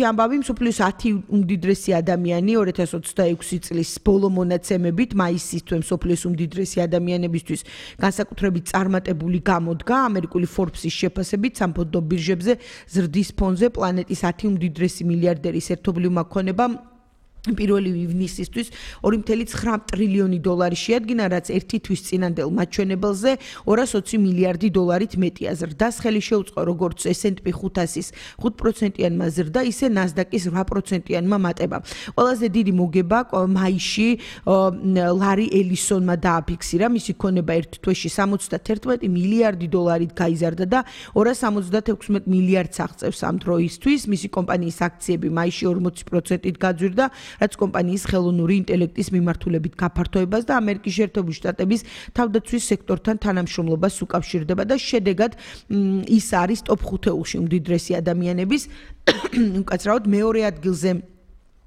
ამბავი მსოფლიოს 10 უმდიდრესი ადამიანი 2026 წლის ბოლო მონაცემებით მაისის თვე მსოფლიოს უმდიდრესი ადამიანებისთვის განსაკუთრებით წარმატებული გამოდგა ამერიკული Forbes-ის შეფასებით სამფონდო ბირჟებზე ზრდის ფონზე პლანეტის 10 უმდიდრესი მილიარდერის ერთობლივმა ქონებამ 1 ივნისისთვის 2.9 ტრილიონი დოლარი შეადგინა, რაც ერთი თვის წინანდელ მაჩვენებელზე 220 მილიარდი დოლარით მეტია. ზრდას ხელი შეუწყო როგორც S&P 500-ის 5%-იანმა ზრდა, ისე NASDAQ-ის 8%-იანმა მატება. ყველაზე დიდი მოგება მაისში ლარი ელისონმა დააფიქსირა, მისი ქონება ერთ თვეში 71 მილიარდი დოლარით გაიზარდა და 276 მილიარდს აღწევს ამ დროისთვის. მისი კომპანიის აქციები მაისში 40%-ით გაძვირდა, რაც კომპანიის ხელოვნური ინტელექტის მიმართულებით გაფართოებას და ამერიკის შეერთებული შტატების თავდაცვის სექტორთან თანამშრომლობას უკავშირდება და შედეგად ის არის ტოპ 5-ში უმდიდრესი ადამიანების უკაცრავად მეორე ადგილზე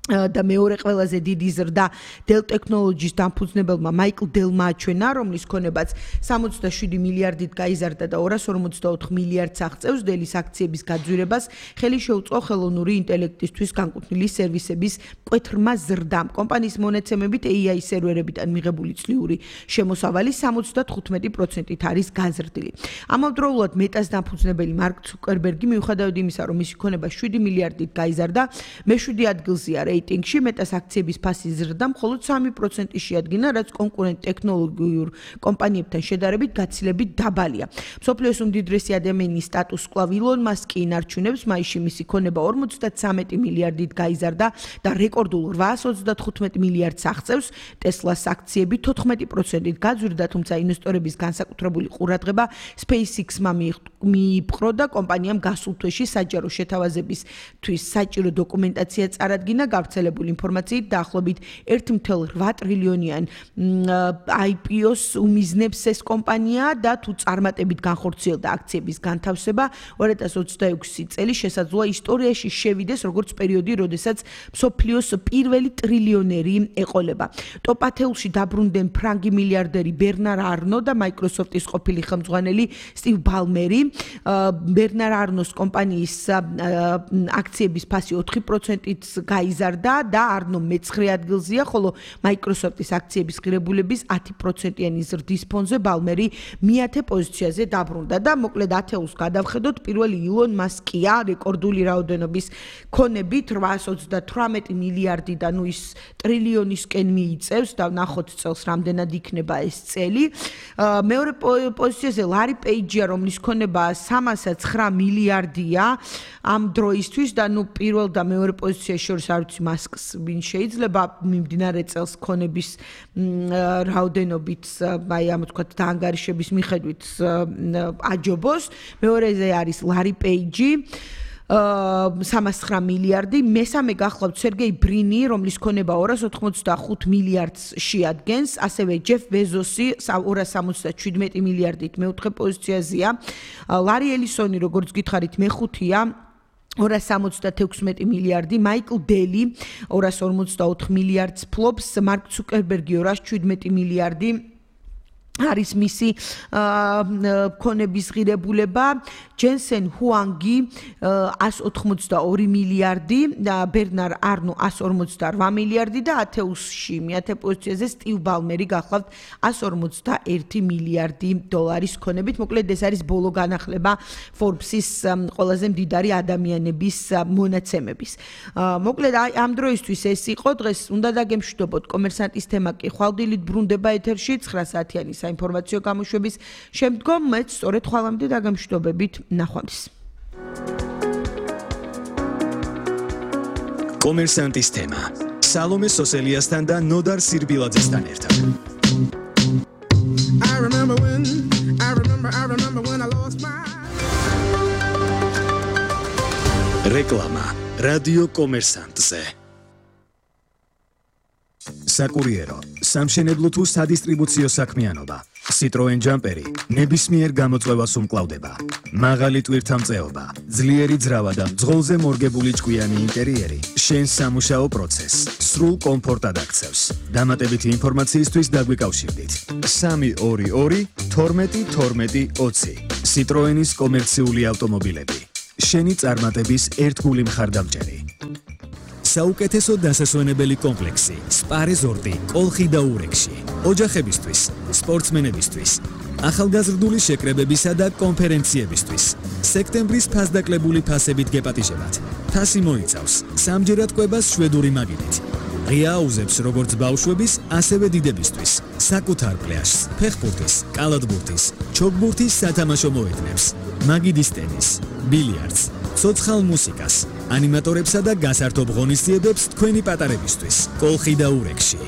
და მეორე ყველაზე დიდი ზრდა Dell Technologies დამფუძნებელმა მაიკლ დელმა აჩვენა, რომლის ქონებაც 67 მილიარდით გაიზარდა და 254 მილიარდს აღწევს. Dell-ის აქციების გაძვირებას ხელი შეუწყო ხელოვნური ინტელექტისთვის განკუთვნილი სერვისების მკვეთრმა ზრდამ. კომპანიის მონაცემებით AI სერვერებიდან მიღებული წლიური შემოსავალი 75%-ით არის გაზრდილი. ამავდროულად მეტას დამფუძნებელი მარკ ცუკერბერგი მიუხედავად იმისა, რომ მისი ქონება 7 მილიარდით გაიზარდა, მე-7 ადგილზეა რეიტინგში, მეტას აქციების ფასი ზრდა მხოლოდ 3% შეადგინა, რაც კონკურენტ ტექნოლოგიურ კომპანიებთან შედარებით გაცილებით დაბალია. მსოფლიოს უმდიდრესი ადამიანის სტატუსს კვლავ ილონ მასკი ინარჩუნებს, მაისში მისი ქონება 53 მილიარდით გაიზარდა და რეკორდულ 835 მილიარდს აღწევს. Tesla-ს აქციები 14%-ით გაძვირდა, თუმცა ინვესტორების განსაკუთრებული ყურადღება SpaceX-მა მიიპყრო და კომპანიამ გასულ თვეში საჯარო შეთავაზებისთვის საჭირო დოკუმენტაცია წარადგინა. გავრცელებული ინფორმაციით დაახლოებით 1.8 ტრილიონიან IPO-ს უმიზნებს ეს კომპანია და თუ წარმატებით განხორციელდა აქციების განთავსება 2026 წელი შესაძლოა ისტორიაში შევიდეს როგორც პერიოდი, როდესაც მსოფლიოს პირველი ტრილიონერი ეყოლება. ტოპ 10-ში დაბრუნდნენ ფრანგი მილიარდერი ბერნარ არნო და Microsoft-ის ყოფილი ხელმძღვანელი სტივ ბალმერი. ბერნარ არნოს კომპანიის აქციების ფასი 4%-ით გაიზარდა და არნო მე-9 ადგილზეა, ხოლო Microsoft-ის აქციების ღირებულების 10%-იანი ზრდის ფონზე ბალმერი მე-10 პოზიციაზე დაბრუნდა და მოკლედ ათეულს გადავხედოთ, პირველი ილონ მასკია რეკორდული რაოდენობის ქონებით 838 მილიარდი და ნუ ის ტრილიონისკენ მიიწევს და ნახოთ წელს რამდენად იქნება ეს წელი. მეორე პოზიციაზე ლარი პეიჯია, რომლის ქონება 309 მილიარდია ამ დროისთვის და ნუ პირველ და მეორე პოზიციაში შორის არ ვიცი მასკს ვინ შეიძლება მიმდინარე წელს ქონების რაოდენობით აი ამ თქვათ დაანგარიშების მიხედვით აჯობოს. მეორეზე არის ლარი პეიჯი 309 მილიარდი, მესამე გახლავთ სერგეი ბრინი, რომლის ქონება 285 მილიარდს შეადგენს, ასევე ჯეფ ბეზოსი 277 მილიარდით მეოთხე პოზიციაზეა. ლარი ელისონი, როგორც გითხარით, მეხუთეა 276 მილიარდი, მაიკლ დელი 254 მილიარდს ფლობს, მარკ ცუკერბერგი 217 მილიარდი არის მისი ქონების ღირებულება, ჯენსენ ჰუანგი 182 მილიარდი და ბერნარ არნო 148 მილიარდი და ათეულში მე-10 პოზიციაზე სტივ ბალმერი გახლავთ 151 მილიარდი დოლარის ქონებით. მოკლედ ეს არის ბოლო განახლება Forbes-ის ყველაზე მდიდარი ადამიანების მონაცემების. მოკლედ ამ დროისთვის ეს იყო, დღეს უნდა დაგემშვიდობოთ კომერსანტის თემა კი ხვალდილით ბრუნდება ეთერში 9 საათიანი საინფორმაციო გამოშვების შემდგომ მეც სწორედ ხვალამდე დაგემშვიდობებით ნახვამდის. კომერსანტის თემა სალომე სოსელიასთან და ნოდარ სირბილაძესთან ერთად. I remember when I lost my რეკლამა რადიო კომერსანტზე. საკურიერო, სამშენებლო თუ სადისტრიბუციო საქმიანობა. Citroen Jumperi ნებისმიერ გამოწვევას უმკლავდება. მაღალი ტვირთამწეობა, ძლიერი ძრავა და ძღოლზე მორგებული ჭკვიანი ინტერიერი შენს სამუშაო პროცესს სრულ კომფორტად აქცევს. დამატებითი ინფორმაციისთვის დაგვიკავშირდით 322 12 12 20. Citroenis კომერციული ავტომობილები. შენი წარმატების ერთგული მხარდამჭერი. საუკეთესო დასასვენებელი კომპლექსი სპა რეზორტი კოლხი და ურეკში. ოჯახებისთვის, სპორტსმენებისთვის, ახალგაზრდული შეკრებებისა და კონფერენციებისთვის. სექტემბრის ფასდაკლებული ფასებით გეპატიჟებათ. ფასი მოიცავს სამჯერად კვებას შვედური მაგიდით. ღია აუზებს როგორც ბავშვების, ასევე დიდებისთვის. საკუთარ პლაჟს, ფეხბურთის, კალათბურთის, ჩოგბურთის სათამაშო მოედნებს, მაგიდის ტენის, ბილიარდს, ცოცხალ მუსიკას, ანიმატორებსა და გასართობ ღონისძიებებს თქვენი პატარებისთვის. კოლხი და ურეკში.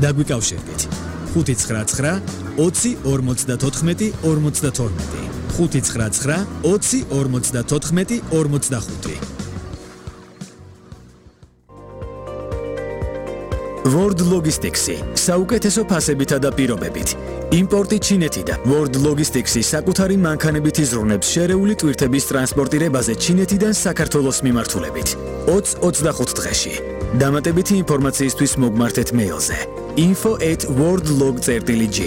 დაგვიკავშირდით. 599 20 54 52 599 20 54 25 World Logistics-ი საუკეთესო ფასებითა და პირობებით. იმპორტი ჩინეთიდან. World Logistics-ი საკუთარი მანქანებით იზრუნებს შერეული ტვირთების ტრანსპორტირებაზე ჩინეთიდან საქართველოს მიმართულებით. 20-25 დღეში. დამატებითი ინფორმაციისთვის მოგმართეთ მეილზე info@worldlog.g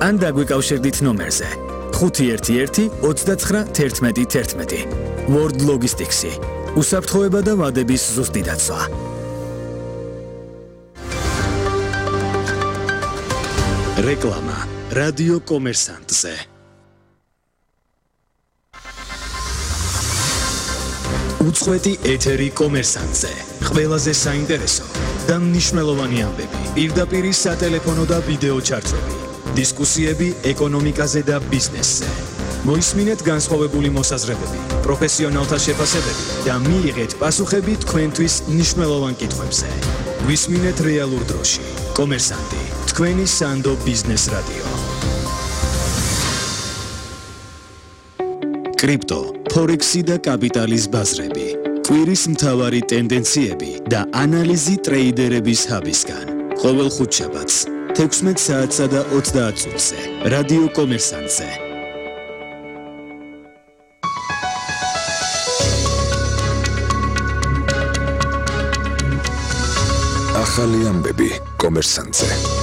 ან დაგვიკავშირდით ნომერზე 511 29 11 11. World Logistics-ი. უსაფრთხოება და ვადების ზუსტი დაცვა. რეკლამა რადიო კომერსანტზე. უწყვეტი ეთერი კომერსანტზე. ყველაზე საინტერესო და მნიშვნელოვანი ამბები. პირდაპირ სატელეფონო და ვიდეო ჩარტები. დისკუსიები ეკონომიკაზე და ბიზნესზე. მოისმინეთ განსხვავებული მოსაზრებები, პროფესიონალთა შეფასებები და მიიღეთ პასუხები თქვენთვის მნიშვნელოვან კითხვებზე. ვისმინეთ რეალურ დროში. კომერსანტი, თქვენი სანდო ბიზნეს რადიო. კრიპტო, ფორექსი და კაპიტალის ბაზრები. კვირის მთავარი ტენდენციები და ანალიზი ტრეიდერების ჰაბისგან. ყოველ ხუთშაბათს 16 საათსა და 30 წუთზე. რადიო კომერსანტზე. ახალი ამბები კომერსანტზე.